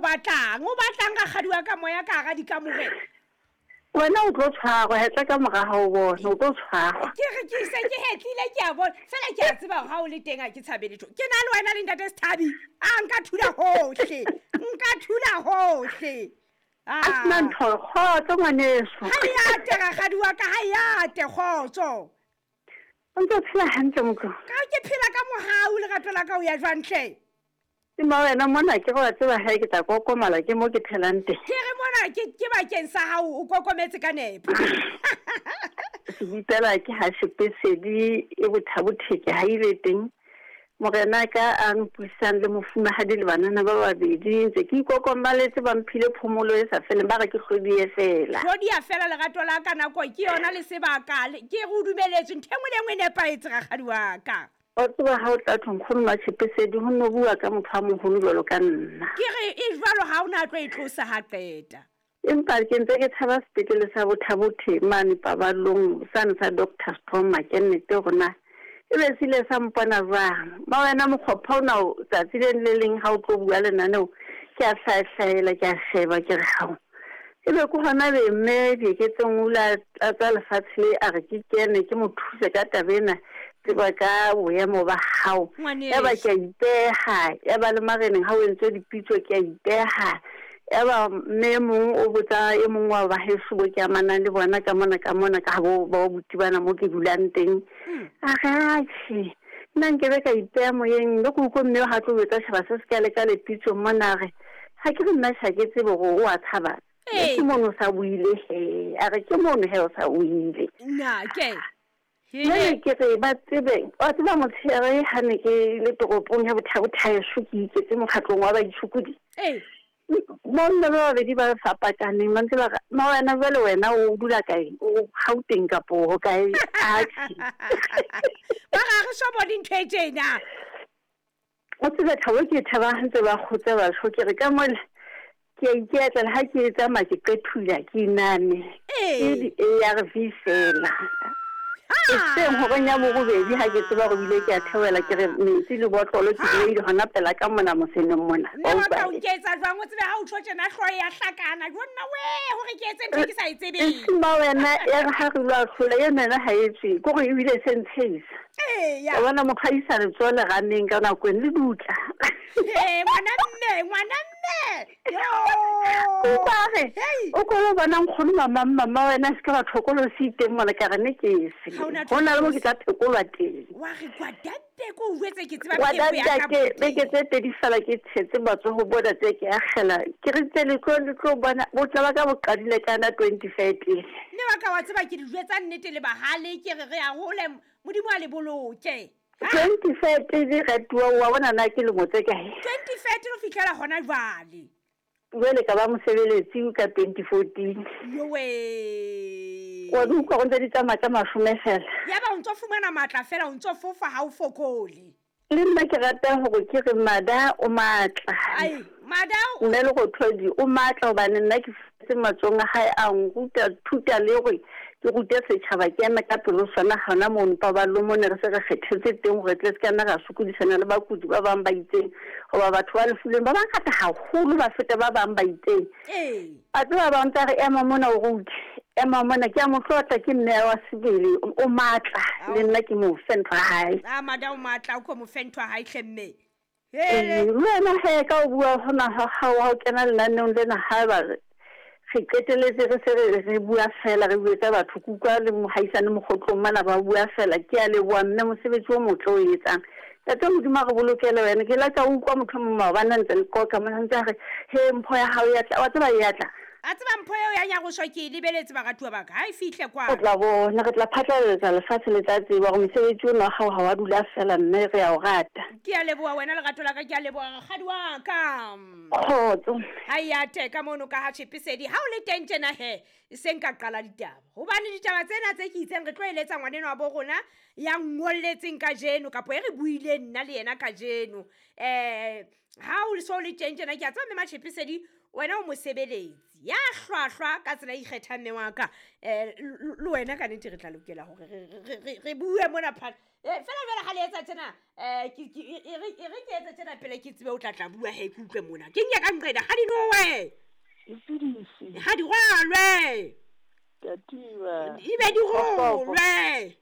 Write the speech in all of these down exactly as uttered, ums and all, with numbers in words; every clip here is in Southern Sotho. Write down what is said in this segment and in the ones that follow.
batlang o batlang rakgadi wa ka moya ka hara dikamore wena o tlo tshwarwa hetla ka mora hao bona o tlo tshwarwa ke re ke se ke hetlile ke a bona fela ke a tseba hore ha o le teng ha ke tshabe letho ke na le wena le ntate Sethabi a nka thula hohle nka thula hohle a sena ntho kgotso ngwaneso ha e ate rakgadi wa ka ha e ate kgotso o ntse o phela hantle motho ka ke phela ka mohau lerato la ka o ya jwang hle ke ma wena mona ke go tseba ha ke tla kokomala ke mo ke phelang teng ke re mona ke ke bakeng sa hao o kokometse ka nepo sebipela ke ha sepesedi e bothabotheke ha ile teng morena ka a mpuisang le mofumahadi le banana ba babedi ntse ke ikokomaletse ba mphile phomolo e sa feleng ba re ke hlodi e fela hlodi ya fela lerato la ka nako ke yona le sebaka ke re o dumeletswe ntho e nngwe le e nngwe e nepahetse rakgadi wa ka o tseba ha o tla thong nkgono Matshepesedi ho no bua ka motho a moholo jwalo ka nna ke re e jwalo ha o na tlo e tlosa ha qeta empa ke ntse ke tshaba sepetlele sa Bothabothe mane paballong sane sa Doctor Stroma ke nnete hore na e be se ile sa mpona jwang ma wena mokgopha ona o tsatsi le le leng ha o tlo bua lenaneo ke a hlaehlaela ke a sheba ke re hao e be ke hona be mme Dieketseng o ile a tsa lefatshe le a re ke kene ke mo thuse ka taba ena tseba ka boemo ba hao ya ba ke a ipeha ya ba le mareneng ha o entswe dipitso ke a ipeha ya ba mme mong o botsa e mong wa ba heso bo ke amanang le bona ka mona ka mona ka bo ba buti bana mo ke dulang teng a re atjhe nna nke be ka ipeha moyeng le ke utlwe mme ha tlo etsa tjhaba se se ka le ka lepitso mona re ha ke re nna ha ke tsebe hore o a tshaba ke mono sa buile he a re ke mono he o sa buile na ke Jwale ke re ba tsebe wa tseba motshehare ha ne ke le toropong ya Bothabothaeso ke iketse mokgatlong wa baitshokodi ee bomme ba babedi ba fapakaneng ba ntse ba re ma wena jwale wena o dula kae o Gauteng kapo ho kae atjhe ba ga re so bone ntho e tjena o tsebe thabo ke thaba ha ntse ba kgotsa batho ke re ka mole ke a iketla ha ke tsamaya ke qethula ke iname ke di-A R V fela e seng hore nya borobedi ha ke tseba hore bile ke a theohela ke re metsi le botlolo ke beile hona pela ka mona moseneng mona mme wa ka o nketsa jwang o tsebe ha o tjho tjena hlooho ya hlakana jo nna we hore ke etse ntho ke sa e tsebeng ma wena ya re ha re lo ahlola e mena ha e tswe ke gore ebile se ntshehisa eya wa bona mokgaisa letsoho le raneng ka nako e le dutla ee ngwana mme ngwana mme yo o re o ko bona nkgono mama mama wena se ka ba tlhokolo se iteng mona ka re ne ke se ho na le mo ke tla phekolwa teng wa re kwadate ko o jwetse ke tseba pheko ya ka beke tse pedi fela ke tshetse matsoho bona tse ke akgela ke re tse le tlo le tlo bona botla ba ka bo qadile ka na twenty thirteen mme wa ka wa tseba ke di jwetsa nnete le bahale ke re re a hole modimo a le boloke twenty thirteen re tuwa wa bona na ke lemo tse kae twenty thirteen ho fihlela hona jwale jwale ka ba mosebeletsi ka twenty fourteen yowe wa di utlwa go ntse di tsamaya ka mashome fela ya ba o ntso fumana matla fela o ntso fofa ha o fokole le nna ke rata hore ke re mada o matla ai mada mme le go thodi o matla hobane nna ke fetse matsong a hae a nruta thuta le hore ke rute setjhaba ke eme ka pelo sona hona mono paballo mone re se re kgethetse teng hore tle se ka nna ra sokodisana le bakudi ba bang ba itseng hoba batho ba lefuleng ba bangata haholo ba feta ba bang ba itseng ee a tseba ba ntse re ema mona o rute ema mona ke a mo tlotla ke mme wa sebele o matla le nna ke mo fe ntho ya hae a mada o matla o ko mo fe ntho ya hae hle mme hele le wena he ka o bua hona ha ha o kena lenaneong lena ha ba re qeteletse re se re re bua fela re buetsa batho kutlwa le mohaisane mokgotlong mana ba bua fela ke a leboha mme mosebetsi o motle o etsang tate modimo a re bolokele wena ke la ka utlwa motho o mong maobane a ntse le qoqa mona ntse a re he mpho ya hao ya tla wa tseba e ya tla a tseba mpho eo ya nyaroso ke e lebeletse baratuwa ba ka ha e fihle o kwano tla bona re tla phatlalatsa lefatshe le tla tseba hore mosebetsi ona wa hao ha wa dula fela mme re a o rata ke a leboha wena lerato la ka ke a leboha rakgadi wa ka kgotso ha e ate ka mono ka ha Tshepesedi ha o le teng tjena he e seng ka qala ditaba hobane ditaba tsena tse ke itseng re tlo eletsa ngwaneno wa bo rona ya ngolletseng kajeno kapo e re buileng nna le yena kajeno eh Ha o so le teng tjena ke a tseba mme Matshepesedi wena o mosebeletsi ya hlwahlwa ka tsela e ikgethang mme wa ka. Um le wena ka nnete re tla lokela hore re bue mona phat. Fela jwale ha le etsa tjena um e re ke etse tjena pele ke tsebe o tla tla bua he ke utlwe mona. Ke nke ka nqena ha di nowe. Ha di rwalwe. Di be di rolwe.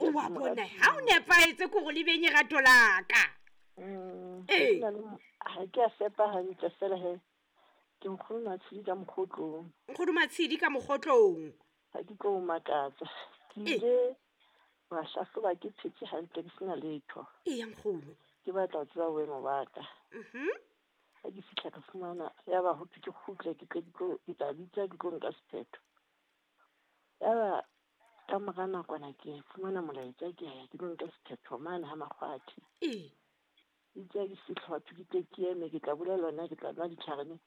O wa bona ha o nepahetse ke hore le benye rato la ka. Ee. Ha ke a fepa hantle fela he. Ke nkgono Matshidi ka mokgotlong. Nkgono Matshidi ka mokgotlong. Ha ke tlo o makatsa. Ke ile wa hlahloba ke phetse hantle ke sena letho. Eya nkgono. Ke batla ho tseba boemo ba ka. Mhm. Ha ke fihla ka fumana ya ba ho thwe ke kgutle ke tle ke tlo ke tla bitsa ke tlo nka sephetho. Ya ba ka mora nakwana ke fumana molaetsa ke ya ke tlo nka sephetho mane ha Makgwathi. Ee. Itse ke fihla batho ke tle ke eme ke tla bolellwa nna ke tla nwa ditlhare ne.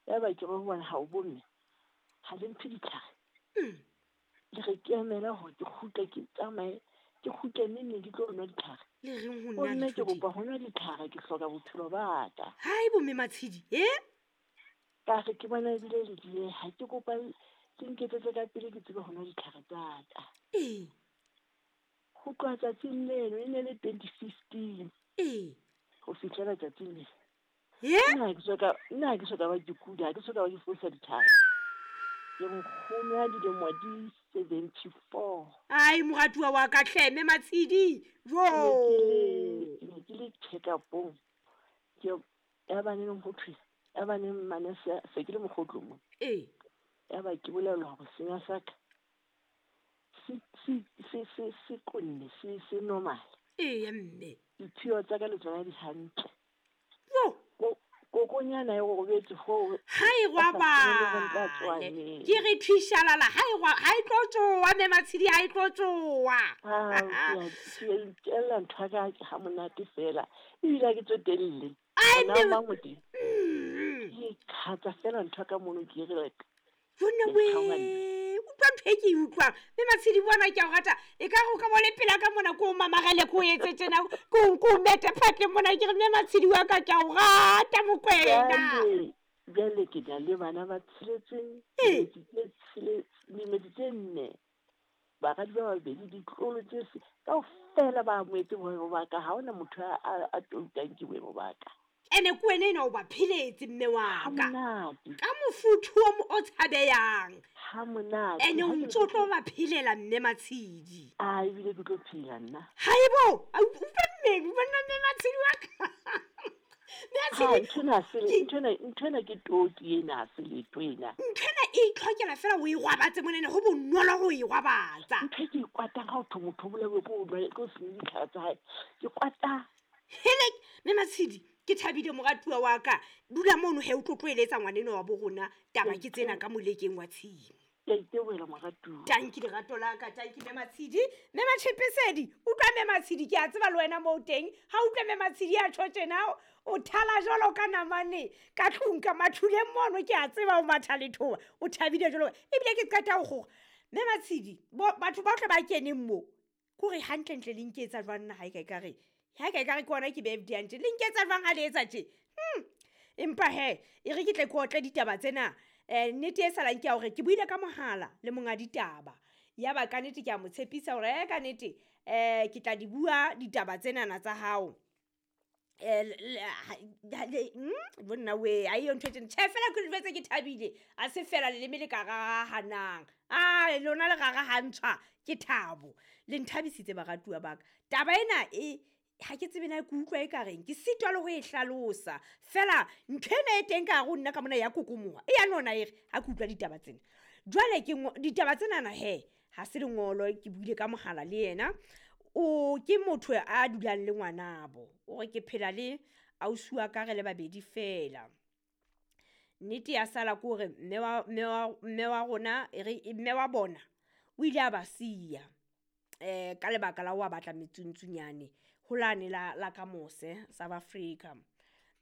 Ya ba ke re ho bona ha o bomme ha le mphe ditlhare. Le re ke emela hore ke kgutle ke tsamaye ke kgutle neng ke tlo nwa ditlhare. Le reng ho nna Bomme ke kopa ho nwa ditlhare ke hloka bophelo ba ka. Hai bomme Matshidi e? Ka re ke bona ebile le dieha ke kopa ke nketsetse ka pele ke tsebe ho nwa ditlhare tsa ka. Ee. Ho tloha tsatsing leno e ne le twenty fifteen. Ee. Ho fihlela tsatsing le. Ye? Nna ha ke soka nna ha ke soka ba ke kula, ha ke soka ba ke fosa ditlhare. Ke nkgono ya dilemo di seventy four. Ai moratuwa wa ka hle mme Matshidi. Jo. Ke ne ke le check-up-ong. Ke ya ba neng ho thwe, ya ba neng manese se ke le mokgotlong mo. Ee. Ya ba ke bolellwa hore senya sa ka se se se se se konne se se normal. Ee mme. Diphio tsa ka le tsona di hantle. Jo. Kokonyana e robetse ho Ha e robale. Ke re thishalala ha e ha e tlo tsoa mme Matshidi ha e tlo tsoa. Ah, ke itella ntho ka ha monate fela. Ebile ha ke tsotelle. Ai Nna mang o teng? Ke khatsa fela ntho ka mono ke re like. Jonna we, utlwa ntho e ke e utlwang. Mme Matshidi bona ke a o rata. E ka re o ka bo le pela ka mona ko o mamarele ko o etse tjena, ko ko o mete phatleng mona ke re mme Matshidi wa ka ke a o rata Mokwena. Jwale jwale ke na le bana ba tsheletseng, Ee. dimedi tse nne, baradi ba babedi, ditlolo tse se kaofela ba amohetse boemo ba ka. Ha hona motho a a toutang ke boemo ba ka. Ene ke wena enwa o ba pheletse mme wa Ha ka. monate. Ka mofuthu o mo o tshabeyang. Ha monate. Ene o Ha ke ntso tlo ba phelela mme Matshidi. Ah, ebile ke tlo phela nna. Haibo, a utlwa mme, bona mme Matshidi wa ka. Mme Ha, Matshidi, nthwena ha se ke- nthwena nthwena ke toki ena ha se letho ena. Nthwena e itlhokela fela o e rwabatse monene ho bonolo ho e rwabatsa. Ntho e ke e kwatang ha ho thwe motho o bolawe ke ho nwa ke ho se nwe ditlhare tsa hae. Ke kwata. Hele, mme Matshidi, ke thabile moratuwa wa ka. Dula mono he o tlo tlo eletsa ngwaneno wa bo rona taba ke tsena ka molekeng wa tshimo. Ke a itebohela moratuwa. Tanki lerato la ka, tanki mme Matshidi. Mme Matshepesedi, utlwa mme Matshidi, ke a tseba le wena moo teng. Ha utlwa mme Matshidi a tjho tjena, o thala jwalo ka namane ka tlung ka mathuleng mono, ke a tseba o matha lethoba. O thabile jwalo. Ebile ke qeta ho kgora. Mme Matshidi, batho bohle ba keneng mo, ke hore hantlentle le nketsa jwang nna ha e ka ekare. Ha e ka ekare ke ona ke be F D tje. Le nketsa jwang ha le etsa tje? Hmm. Empa he, e re ke tle ke otle ditaba tsena. Eh, nnete e salang ke ya hore ke buile ka mohala le monga ditaba. Ya ba ka nnete ke a mo tshepisa hore eh ka nnete eh ke tla di bua ditaba tsenana tsa hao. Eh le mm bonna we a iyo ntho e tjena. Tjhe fela ke le jwetse ke thabile. A se fela leleme le ka rarahanang. Ah lona le rarahantshwa ke thabo. Le nthabisitse baratuwa ba ka. Taba ena e ha ke tsebe na ke utlwa e ka reng, ke sitwa le ho e hlalosa. Fela ntho ena e teng ka hare ho nna ka mona ya kokomoha. E ya nona e re ha ke utlwa ditaba tsena. Jwale ke ditaba tsenana he, ha se lengolo ke buile ka mohala le yena. O ke motho a dulang le ngwanabo. O re ke phela le ausi wa ka re le babedi fela. Nnete ya sala ke hore mme wa mme wa mme wa rona e re mme wa bona o ile a ba siya eh ka lebaka la ho batla metsuntsunyane ho lane la la ka mose South Africa.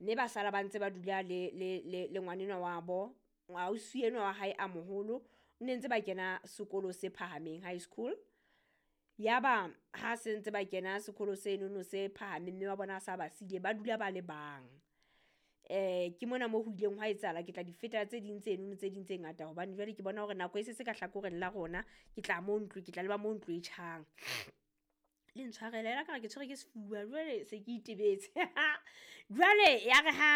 Mme ba sala ba ntse ba dula le le le le ngwanenwa wa bo, ausi enwa wa hae a moholo, ne ntse ba kena sekolo se phahameng high school. Yaba ha se ntse ba kena sekolo senono se phahameng, mme wa bona a sa ba siile, ba dula ba le bang. Eh ke mona mo ho ileng hwa etsahala, ke tla di feta tse ding tsenono tse ding tse ngata, hobane jwale ke bona hore nako e se se ka hlakoreng la rona. Ke tla mo ntlo, ke tla leba mo ntlo e tjhang. Le ntshwarele la ka re ke tshwere ke sefuba, jwale se ke itebetse. Jwale ya re ha